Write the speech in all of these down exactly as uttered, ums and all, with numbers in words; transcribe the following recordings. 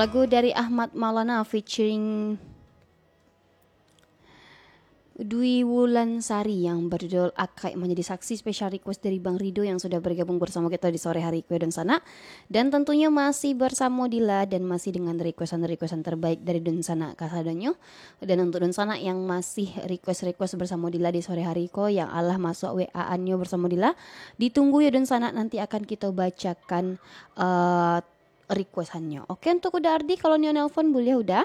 Lagu dari Ahmad Maulana featuring Dwi Wulansari yang berjudul Akaik Manjadi Saksi, special request dari Bang Rido yang sudah bergabung bersama kita di sore hari ko, dunsanak. Dan tentunya masih bersamo Dila dan masih dengan requestan-requestan terbaik dari dunsanak kasadonyo. Dan untuk dunsanak yang masih request-request bersamo Dila di sore hari ko, yang alah masuak W A-annyo bersamo Dila, ditunggu yo dunsanak, nanti akan kita bacakan, eh, requestannyo. Oke, untuk Uda Ardi, kalau nio nelpon, buliah, Uda?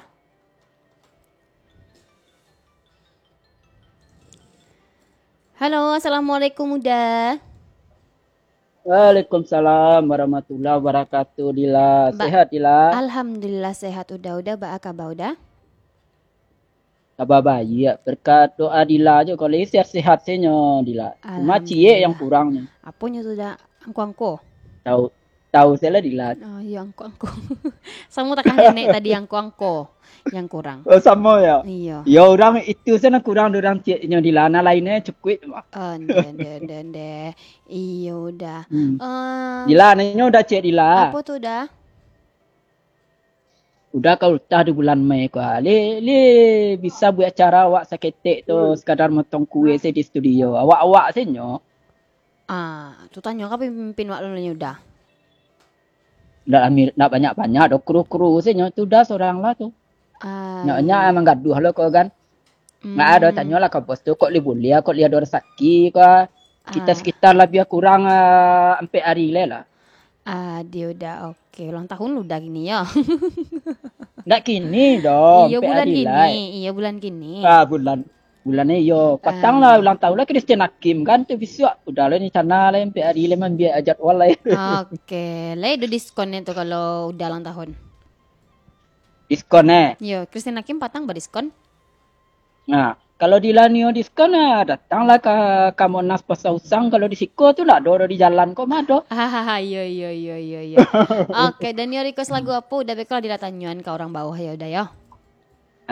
Halo, assalamualaikum, Uda. Waalaikumsalam warahmatullahi wabarakatuh, Dila. Ba- Sehat, Dila? Alhamdulillah, sehat, Uda. Uda, baa kaba, Uda? Kaba baiak, berkat doa Dila jo, kalau sehat-sehat se nyo, Dila. Cuma ciek yang Alhamdulillah. Kurangnyo. Aponyo tu, Da? Angko-angko? Tahu, tahu se lah, Dila. Oh, iyo, angko-angko. Samo takah nenek tadi, angko-angko yang kurang. Oh, samo yo? Iyo. Yo, urang itu se nan kurang, urang cieknyo, Dila. Nan lainnyo cukuik. Oh, ndeh, ndeh, ndeh, ndeh. Iyo, Da. Hmm. Eh, Dila, nanyo Uda ciek, Dila. Apo tu, Da? Uda ka ultah di bulan Mei ko, ah. Lai, lai bisa buek acara awak saketek tu, Hmm. Sekadar motong kue se di studio. Awak-awak se nyo. Ah, tu tanyo ka pamimpin wak lo nyo, Da? Ndak ami-, ndak banyak-banyak doh, kru-kru se nyo. Tu Uda sorang lah tu. Ah, nyo, nyo iyo. Manggaduah lo ko kan. Ndak ado, hmm. Tanyolah ka bos tu, kok lai buliah, kok lai ado rasaki ko. Kita, ah, sekitar labiah kurang, ah, ampek ari lai lah. Ah, dio Uda, oke. Ulang tahun Uda kini yo. Ndak kini doh, iyo, ampek bulan ari kini, lai. Iyo, bulan kini. Ah, bulan, bulan ni yo. Patang lah, ah, ulang tahun lah Christian Hakim kan tu bisuak. Uda lah ni, cana lah ampek ari lai, mambiak jadwal lai. Oke, lai ado diskon tu kalau Uda ulang tahun? Diskon, eh? Yo, Christian Hakim patang badiskon. Nah, kalau Dila nio diskon, ah, datanglah ka, ka Monas Pasar Usang. Kalau di siko tu ndak ado, ado di jalan ko mah ado. Hahaha, iyo, iyo, iyo, iyo, iyo. Oke, dan nio request lagu apo, Uda, beko lah Dila tanyoan ka urang bawah yo, Uda, yo.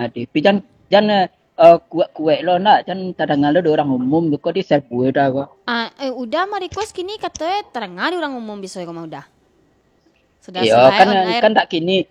Aduh, tapi jan, jan, eh, eh, kuek-kuek lo ndak, jan tadanga lo di urang umum, beko di serbu Uda ko. Ah, eh, Uda mah request kini kato e tadanga di urang umum biso ko mah, Uda. Sudah. Iyo, sesuai kan, on air. Kan ndak kini,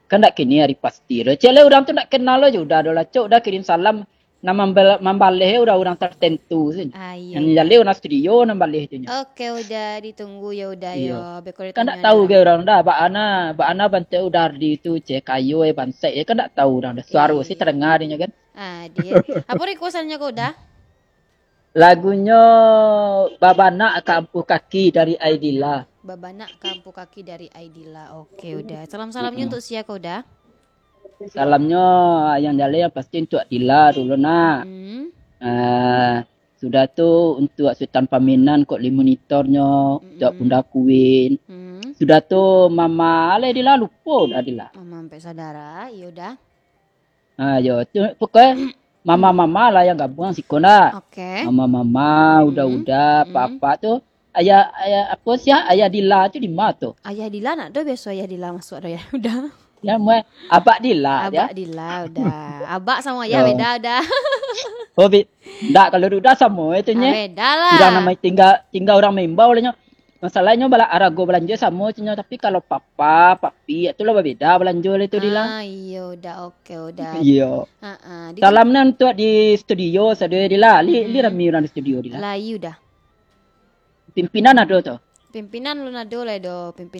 kan ndak kini ari pasti lo. Cek lai urang tu ndak kenal lo jo Uda doh lah, cok, Uda kirim salam, nan mambal-, mambaleh urang-urang tertentu se. Ah, iyo, nan iyo. Jaleh urang studio nan baleh tu nyo. Oke, Uda, ditunggu yo, Uda, iyo. Yo. Beko kan ndak ditunggu tahu yo. Ge urang Uda, baa na, baa na bantuak Uda Ardi tu, cek kayo, eh, bansaik, eh, kan ndak tahu urang Uda. Suaro se, iyo, tadanga dinyo kan. Ah, dia. Apo requestannyo ko, Uda? Lagunyo Babanak ka Ampuh Kaki dari Aidila. Babanak ka Ampuh Kaki dari Aidila. Oke, Uda. Salam-salamnyo, mm-mm, untuk sia ko, Uda? Salamnyo yang jaleh yang pasti untuk Dila dulu, nak. Mm. Ah, sudah tu untuk Sutan Paminan, kok lai monitornyo, untuk, mm-mm, Bunda Queen. Mm. Sudah tu Mama, alah Dila, lupo Uda, Dila. Mama ampek saudara, iyo Uda. Ah, yo, tu pokoknyo mama-mama lah yang gabuang siko nak. Oke. Mama-mama, mm-mm, uda-uda, mm-mm, papa tu. Ayah, ayah, apo sia, Ayah Dila tu di ma tu? Ayah Dila ndak ado, biaso Ayah Dila masuak ado, Ayah Uda. Ya, muai Abak Dila, ya. Abak Dila, Uda. Abak samo Ayah, yo, beda, Uda. Oh, bi-, ndak, kalau Uda samo itu nyo. Ah, beda lah. Urang namo tingga, tingga urang maimbau lah nyo. Masalahnyo bala-, arago balanjo samo cunyo, tapi kalau papa, papi, tu lah babeda balanjo lah tu, Dila. Ah, iyo, Uda, oke, Uda. Iyo. Ha-ha. Di salam nan untuak di studio sado, Dila. Li, li, mm-mm, rami urang di studio, Dila. Lai, Uda. Pimpinan ado tu? Pimpinan alun ado lai doh, pimpinan